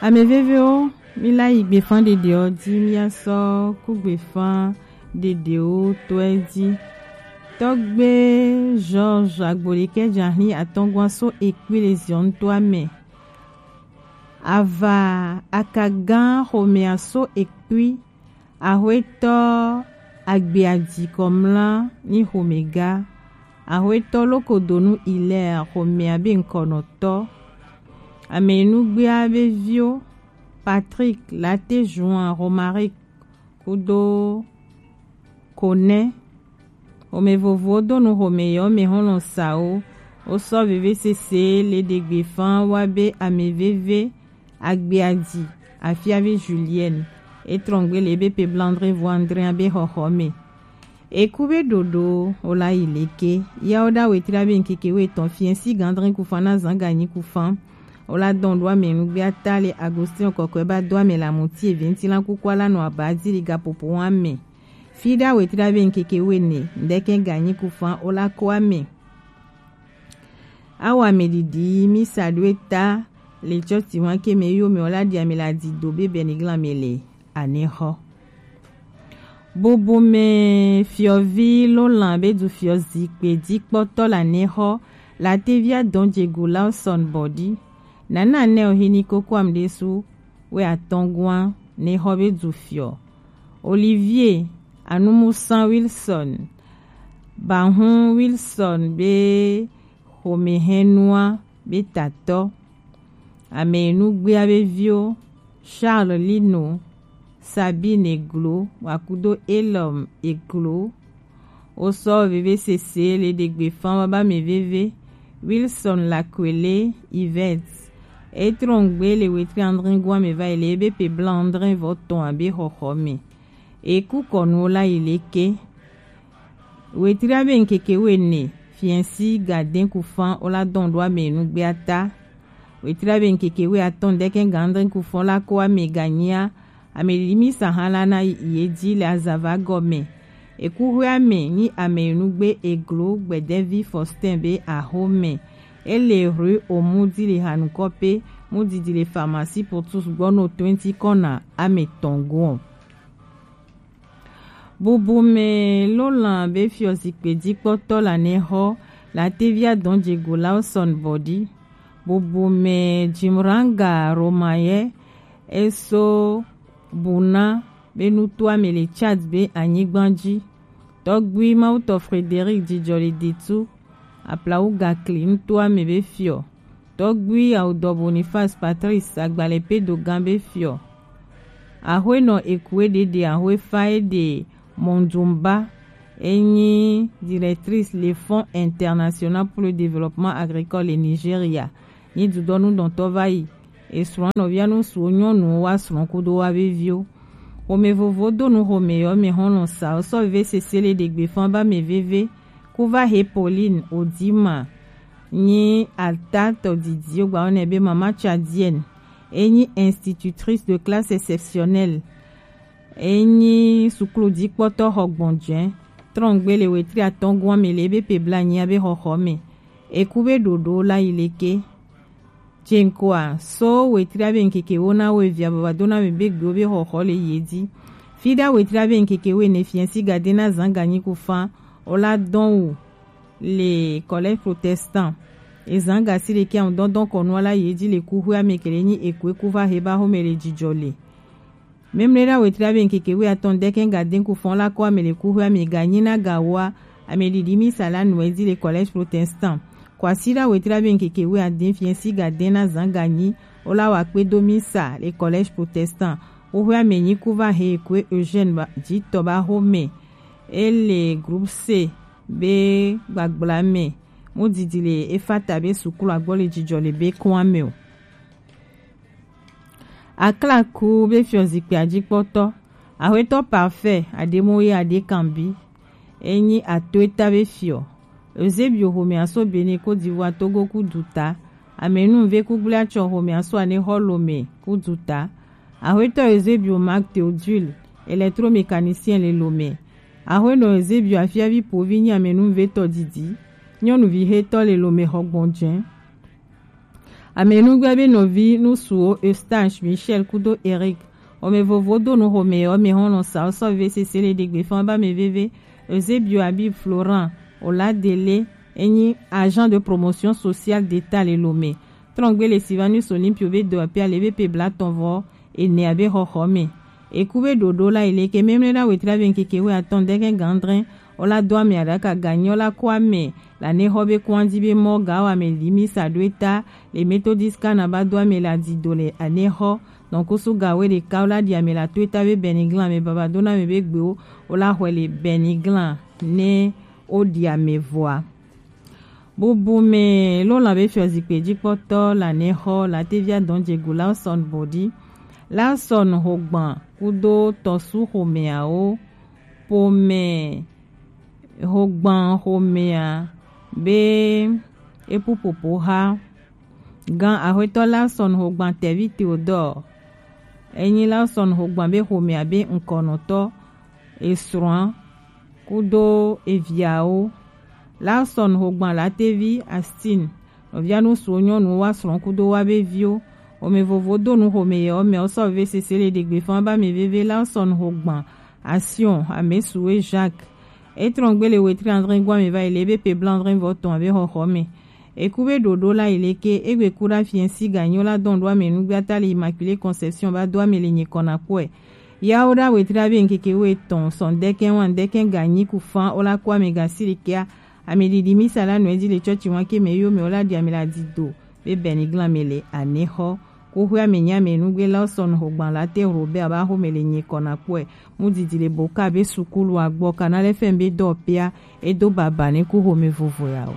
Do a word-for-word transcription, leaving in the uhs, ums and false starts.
Amɛvevewo, mi la yi gbefan ɖeɖewo ji, mi ya sɔ ku gbefan ɖeɖewo tɔɛ ji. Tɔgbe Georges Agbolekɛ Jahli atɔngua so ekpui le ziɔn to amɛ. Ava akagan xomɛa so ekpui. Axwetɔ Agbeaji Kɔmla ni xomɛga. Axwetɔ Lokodonu Hilaire xomɛa be ŋkɔnɔtɔ. Amɛnugbea be viwo Patrick, Laté Juin, Romaric kudo Konɛ. Xomɛ vovowo do nu xomɛ yɔ mɛ hɔn lɔn sa wo. Wo sɔ veve sese le ɖegbe fan wa be amɛ veve Agbeaji Afiavi Julienne. E trɔngbe le be pe blandre vo André be xɔxɔ mɛ. Eku be ɖoɖo wo la yi leke. Ya wo ɖa wetri abe ŋkeke wo etɔn fiɛ si gandrin kufan na zan ganyi kufan. Wo la dɔn ɖo amɛ nugbe ata le Agostinho kɔkɔe ba do amɛ la muti evi ŋti la kuku ala nɔ aba di li gapopo wa mɛ. Fi ɖa wetri abe ŋkeke wo ene, ŋdɛkɛ ganyi kufan wo la ko amɛ. Awa mɛ ɖiɖi mi sa ɖo eta le tsɔti wa ke mɛ yo mɛ wo la ɖi amɛ la di do be bɛ ni glan mɛ le anɛ xɔ. Bubu mɛ fiɔvi lo lan be du fiɔ zikpe di kpɔtɔ la nɛ xɔ la te via dɔn je go la son bɔdi. Nana nɛ o hini koko am ɖe su we atɔngua nɛ xɔ be du fiɔ. Olivier Anumusan Wilson, Bahun Wilson be xomehɛnua be tatɔ. Amɛnugbea be viwo Charles Lino, Sabine Eglo, wakudo Elom Eglo. Wo sɔ veve sese le ɖegbe fan wa ba mɛ veve. Wilson Lakwele Yvette. E trɔngbe le wetri André gua mɛ va yi le ebe pe bla André vɔ tɔn abe xɔxɔ mɛ. Eku kɔnu wo la yi leke. Wetri abe ŋkeke wo ene fiɛnsi gadɛn kufan wo la dɔn ɖo amɛ nugbe ata. Wetri abe ŋkeke wo atɔn ɖekɛ gandɛn kufan la ko amɛ ganyia amɛ limi sahan la na ye di le azava gɔmɛ. Eku hwe amɛ ni amɛ nugbe Eglo Gbɛdɛvi Faustin be axo mɛ. Ele rue Omudi le hanukɔ pe mudidi le pharmacie Portus gbɔ no twenty kɔna amɛ tɔn go. Bubu mɛ lo lan be fiɔ zikpe di kpɔtɔ la nɛ xɔ la te via dɔn je go la son bɔdi. Bubu mɛ Jimranga Romayɛ eso buna be nuto amɛ le Tchad be anyigban ji. Tɔgbui Mawutɔ Frédéric Jijɔli Ditu Aplawu Gakli nuto amɛ be fiɔ. Tɔgbui Awudɔ Boniface Patrice Agbalɛ Pedo gan be fiɔ. Axwenɔ Ekue Dede Axwefa Ede Mondumba enyi directrice le Fonds International pour le Développement Agricole le Nigeria. Ni dudɔnu dɔntɔ va yi. Esrɔ̃ nɔvia nu suwo nyɔnuwo wa srɔ̃ kudo wa veviwo. Xomɛ vovo do nu xomɛ yɔ mɛ hɔn lɔn sa wo sɔ veve sese le ɖegbe fan ba mɛ veve. Kuva he Pauline Odima nyi ata tɔdidi wo gba wo nɛ be mama tchadienne. Enyi institutrice de classe exceptionnelle. Enyi suklu dikpɔtɔ xɔ gbɔnjɛ. Trɔngbe le wetri atɔn gɔn mɛ le ebe pe bla nyi abe xɔxɔ mɛ. Eku be ɖoɖo la yi leke. Jenkoa so wetri abe ŋkeke wo na wo evia baba do na mɛ be gbe wo be xɔxɔ le ye di. Fi ɖa wetri abe ŋkeke wo ene fiɛnsi gade na zan ganyi kufan wo la dɔn wu le collège protestant. Ezan gasi ɖeke aŋ dɔndɔn kɔnu ala ye di le kuxwe ame kele nyi ekue kuva he ba xome le jijɔ le. Memle ɖa wetri abe ŋkeke wo atɔn ɖekɛ ga den kufɔn la kɔ ame le kuxwe ame ga nyi na ga wa ame ɖiɖi mi sa la nu edi le collège protestant. Kwasi ɖa wetri abe ŋkeke wo aden fiɛnsi ga den na zan ga nyi wo la wa kpe do mi sa le collège protestant. Kuxwe ame nyi kuva he ekue Eugène ba jitɔ ba xome. Ele groupe C be gbagbla mɛ. Mudidi le Efata be sukulu agbɔ le jijɔ le be kɔn ame o. Aklaku be fiɔ zikpui ajikpɔtɔ. Axwetɔ Parfait Ademoye Adekanbi. Enyi ato eta be fiɔ. Eusebio xome aso Benin Côte d'Ivoire Togo ku duta. Amenuve ku gble atsɔ xome aso ane xɔ Lomé ku duta. Axwetɔ Eusebio Marc Théodule, électromécanicien le Lomé. Axwenɔ Eusebio Afiavi Povi nyi amenuvetɔ didi. Nyɔnuvi hetɔ le Lomé xɔ gbɔnjɛ. Amenugbe be nɔvi nusuwo Eustache, Michel kudo Eric. Ome vovo do nu xome yɔ me hɔn nɔ sa sɔ ve sese le degbe fan ba me veve. Eusebio Habib, Florent Oladele, enyi agent de promotion sociale d'État le Lomé. Trɔngbe le Silvanus Olympio be do api ale be pe bla tɔn vɔ ene abe xɔxɔ me. Eku be ɖoɖo la yi leke memle ɖa wetra be ŋkeke we atɔn deke gandre. Ola do ame aɖaka ganyi ola ko ame la ne xɔ be kwanji be mɔ ga wa me li mi sa do eta le Methodist kana ba do ame la di do le ane xɔ. Donc kusu ga we ɖeka ola di ame la to eta be Beniglan me baba do na me be gbewo ola xɔe le Beniglan ne o ɖi ame vɔa. Bubu me lo la be fiɔ zikpe jikpɔtɔ la ne xɔ la tevia dɔn jegu la sɔn bodi la sɔn xogban kudo tɔsu xomeawo pome xogban xomea be epupopo xa gan axwetɔ la sɔn xogban tɛvi Theodore enyi la sɔn xogban be xomea be ŋkɔnɔtɔ esrɔ̃a kudo eviawo. Larson xogban latevi Astin nɔvia nusuwo nyɔnuwo wa srɔ̃ kudo wa be viwo. Ome vovo do nu xome yɛ ɔmɛ ɔsɔ ve sese le ɖegbe fan ba me veve Larson xogban Asion amesuwe Jacques. Etrɔn gbe le wetri andre gwa me va yi le ebe pe bla andre vɔ tɔn abe xɔxɔ me. Eku be ɖoɖo la yi leke egbe ku ɖa fiɛnsi ganyo la dɔn ɖo ame nugbe ata le Immaculée Conception ba do ame le nyikɔ na kpɔe. Yawo ɖa wetri abe ŋkeke wo etɔn sɔn dɛkɛ wan dɛkɛ ganyi ku fan o la kɔ ame gasi le kea ame ɖiɖi misa la nɔ edzi le tsɔtsi wan ke me yo me o la ɖi ame la di do be bɛniglan me le ane xɔ. Kuxu ame nyi ame nugbe la sɔn xogban la te Robert ba xo me le nyikɔ na kpɔe. Mu didi le boka be sukulu agbɔ kana le fɛn be dɔ pea edo baba ne ku xome vovo ya o.